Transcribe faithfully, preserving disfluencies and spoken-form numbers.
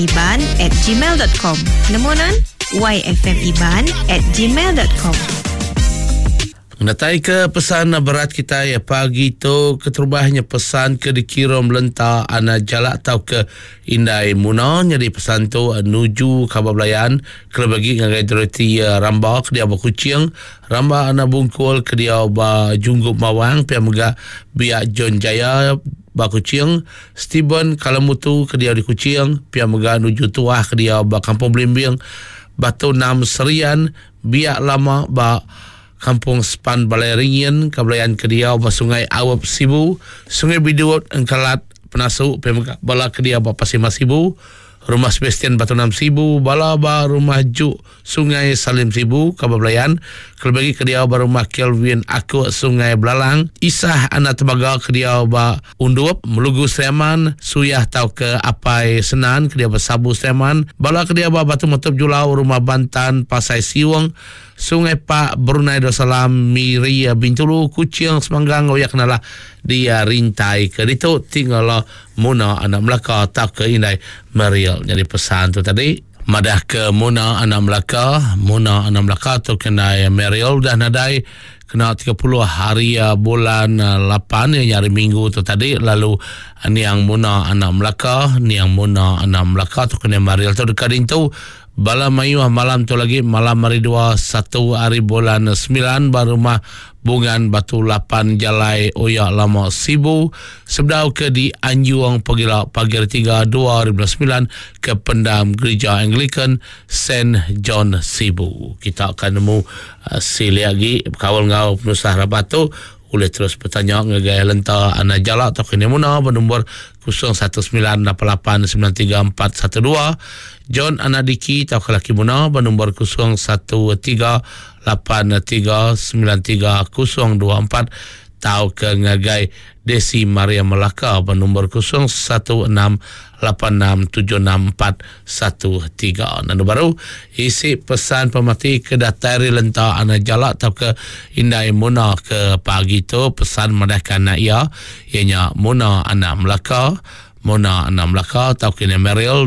yfmiban at gmail dot com. Nemu nan? yfmiban at gmail dot com. Ngenatai ke pesan berat kitai pagi tu, keterubahnya pesan ke dikirum lenta anak jalak tau ke Indai Muna. Jadi pesan tu nuju kabar belayan kelebih lagi ngagai Dorothy Ramba ke dia ba Kuching, Ramba anak Bungkul ke dia ba Junggup Mawang, pia mega Biak John Jaya ba Kuching, Steven Kalamutu ke dia di Kuching, pia mega nuju Tuah ke dia ba Kampung Belimbing, Batu Enam Serian, Biak Lama ba Kampung Sepan Balai Ringin, Kabelayan ke dia ba Sungai Awap Sibu, Sungai Bidut Engkalat Penasu, pia mega bala ke dia ba Pasir Mas Sibu, Rumah Sebastian Batu Enam Sibu, bala ba Rumah Juk Sungai Salim Sibu, Kabelayan, kelebih lagi ke dia ba Rumah Kelvin Aku Sungai Belalang, Isah Anak Tembaga ke dia ba Undup, Melugu Seriaman, Suyah tau ke Apai Senan ke dia ba Sabu Seriaman, bala ke dia ba Batu Metup Julau, Rumah Bantan Pasai Siung, Sungai Pak, Brunei Darussalam, Miri, Bintulu, Kuching, Semanggang, Oyak kenalah dia rintai ke ditu tinggal Muna Anak Melaka tau ke Indai Meriel. Jadi pesan tu tadi madah ke Muna Anak Melaka, Muna Anak Melaka tu kena Meriel dah nadai kena tiga puluh hari bulan lapan yang hari Minggu tu tadi. Lalu niang Muna Anak Melaka, niang Muna Anak Melaka tu kena Meriel tu dekat dintu bala mayuh malam tu lagi malam hari dua satu hari bulan sembilan baru rumah Bungan Batu Lapan Jalai Oyak Lama Sibu sebedau ke di Anjuang Pegila pagi hari tiga dua ribu sembilan ke pendam Gereja Anglican Saint John Sibu. Kita akan nemu uh, sili lagi kawal ngau penusah rabat tu. Boleh terus bertanya ngagai lenta anak jalak atau kini muna bernombor kosong satu sembilan lapan lapan sembilan tiga empat satu dua. John anak Diki atau laki muna bernombor kosong satu tiga lapan tiga sembilan tiga kosong dua empat. Tau ke ngagai Desi Maria Melaka bernombor kosong satu enam lapan enam tujuh enam empat satu tiga. Nanu baru isi pesan pemati ke datari lenta anak jalak atau ke Indai Muna ke pagi tu pesan madahkan anak ia ianya Muna anak Melaka, Muna anak Melaka atau ke Meril.